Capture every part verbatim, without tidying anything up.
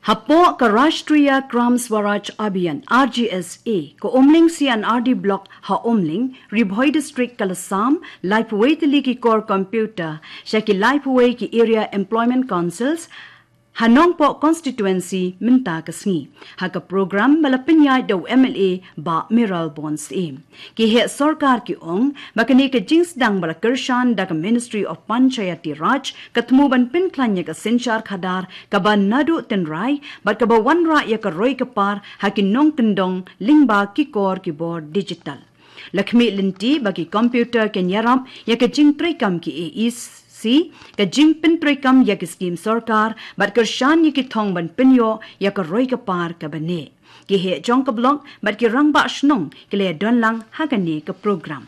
Hapoh ka Rashtriya Gram Swaraj Abhiyan, R G S A, ka Umling C and R D Block ha Umling, Ri Bhoi District ka la sam laiphew tylli ki kor computer sha ki laiphew ki Area Employment Councils ha Nongpoh Constituency mynta ka sngi, ha ka program ba la pynïaid da u M L A Bah Mayralborn Syiem. Ki heh sorkar ki ong ba kane ka jingsdang ba la kyrshan da ka Ministry of Panchayati Raj ka thmu ban pynkhlaiñ ïa ka synshar khadar kaba naduh tynrai bad kaba wanrah ïa ka roi ka par ha ki nongkyndong lyngba ki kor ki bor digital. La khmih lynti ba ki computer kin ïarap ïa ka jingtreikam ki A E C, ka jingpyntreikam ïa ki skim sorkar bad kyrshan ïa ki thong ban pynïoh ïa ka roi ka par kaba neh. Ki heh jong ka block bad ki rangbah shnong ki la ïadon lang ha kane ka program.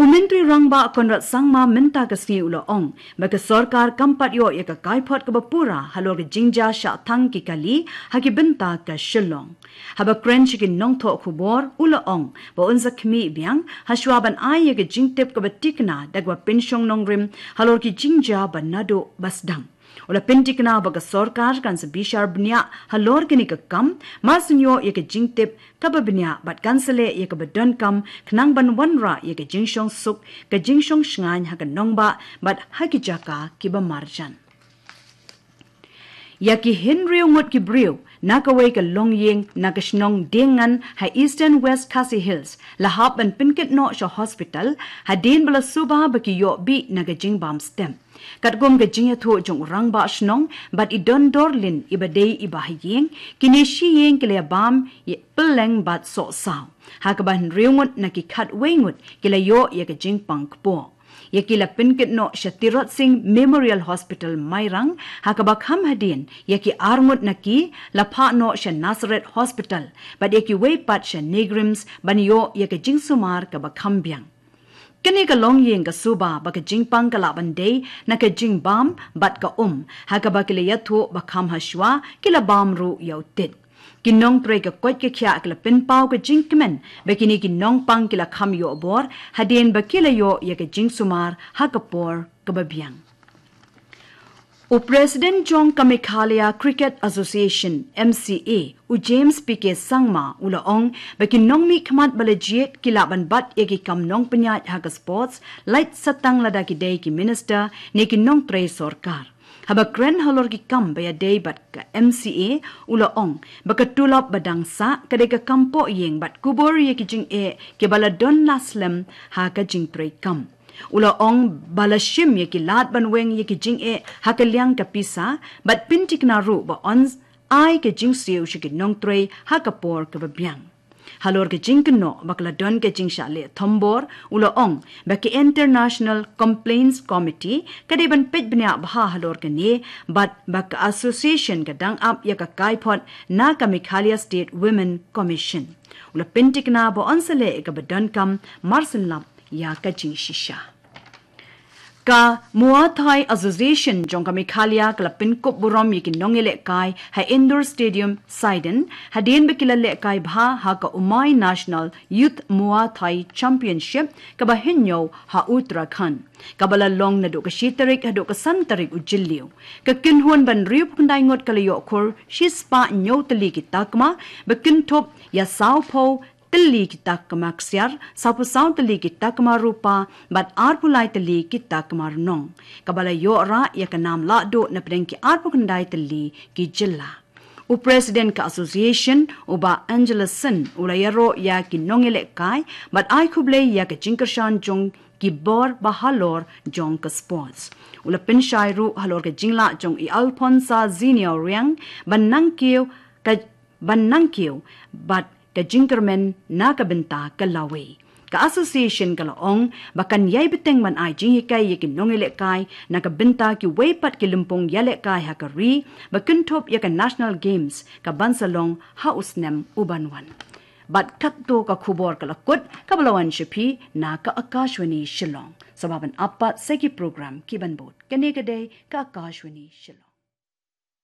U Myntri Rangbah Conrad Sangma mynta ka sngi u la ong ba ka sorkar kam pat ïoh ïa ka kaiphod kaba pura halor ka jingjia shah thang ki kali ha ki bynta ka Shillong. Haba kren sha ki nongthoh khubor u la ong ba un sa khmih biang ha shuwa ban ai ïa ka jingtip kaba tikna da kaba pynshong nongrim halor ki jingjia ba naduh ba sdang. U la pyntikna ba ka sorkar kan sa bishar bniah halor kane ka kam, mar shu ïoh ïa ka jingtip kaba bniah bad kan sa leh ïa kaba donkam khnang ban wanrah ïa ka jingshong suk, ka jingshong shngaiñ ha ka nongbah bad ha ki jaka kiba marjan. Ïa ki hynriew ngut ki briew na kawei ka longïing na ka shnong Diengngan ha Eastern West Khasi Hills la hap ban pynkit noh sha hospital hadien ba la suba ba ki ïoh bih na ka jingbam stem. Katkum ka jingïathuh jong u rangbah shnong bad i Don Dorlin iba dei iba ha ïing, kine shi ïing ki la bam ïa pylleng bad soh saw, ha kaba hynriew ngut na ki khatwei ngut ki la ïoh ïa ka jingpang kpoh. Ïa ki la pynkit noh sha Tirot Sing Memorial Hospital Mairang, ha kaba kham hadien ïa ki ar ngut na ki la phah noh sha Nazareth Hospital bad ïa kiwei pat sha NEIGRIHMS ban ïoh ïa ka jingsumar kaba kham biang. Kane ka longïing ka suba ba ka jingpang ka lah ban dei na ka jingbam bad ka um, ha kaba ki la ïathuh ba kham ha shuwa ki la bam ruh ïa u tit. Ki nongtrei ka koit ka khiah ki la pynpaw ka jingkmen ba kine ki nongpang ki la kham ïoh bor hadien ba ki la ïoh ïa ka jingsumar ha ka por kaba biang. U President jong ka Meghalaya Cricket Association, M C A, u James P K Sangma u la ong ba ki nongmihkhmat ba la jied ki lah ban bat ïa ki kam nongpynïaid ha ka sports, lait satang lada ki dei ki minister ne ki nongtrei sorkar. Haba kren halor ki kam ba ïadei bad ka M C A u la ong ba ka tulop ba dang sah ka dei ka kam pohïing bad kubur ïa ki jingeh kiba la don la slem ha ka jingtrei kam. U la ong ba la shim ïa ki lad ban weng ïa ki jingeh ha ka liang ka pisa bad pyntikna ruh ba yn ai ka jingsiew sha ki nongtrei ha ka por kaba biang. Halor ka jingkynnoh ba ka la don ka jingshah leh thombor, u la ong ba ka International Complaints Committee ka dei ban peit bniah bha halor kane bad ba ka association ka dang ap ïa ka kaiphod na ka Meghalaya State Women Commission. U la pyntikna ba yn sa leh ïa kaba donkam mar syn lap ïa ka jingshisha. Ka Muay Thai Association jong ka Meghalaya ka la pynkup burom ïa ki nongïalehkai ha Indoor Stadium Saiden hadien ba ki la lehkai bha ha ka Umai National Youth Muay Thai Championship kaba hynñiew ha Uttarakhand, kaba la long naduh ka shi tarik haduh ka san tarik u Jylliew. Ka kynhun ban hynriewphew khyndai ngut ka la ïoh khur shispah hynñiew tylli ki takma, ba kynthup ïa sawphew tylli ki takma ksiar, sawphew saw tylli ki takma rupa bad arphew lai tylli ki takma rnong, kaba la ïoh rah ïa ka nam lahduh napdeng ki arphew khyndai tylli ki jylla. U President ka Association, u Bah Angelus Syn, u la ïaroh ïa ki nongïalehkai bad ai khublei ïa ka jingkyrshan jong ki bor ba halor jong ka sports. U la pynshai ruh halor ka jinglah jong i Alphonsa Ziniaw Riang ban nang kiew ka ban nang kiew bad ka jingkyrmen na ka bynta ka lawei. Ka association ka la ong ba kan ïai bteng ban ai jinghikai ïa ki nongïalehkai na ka bynta kiwei pat ki lympung ïalehkai ha ka ri, ba kynthup ïa ka National Games kaban sa long ha u snem uban wan. Bad katto ka khubor ka la kut kaba la wan sha phi na ka Akashvani Shillong. Sa ba ban ap pat sa ki program kiban bud. Kane ka dei ka Akashvani Shillong.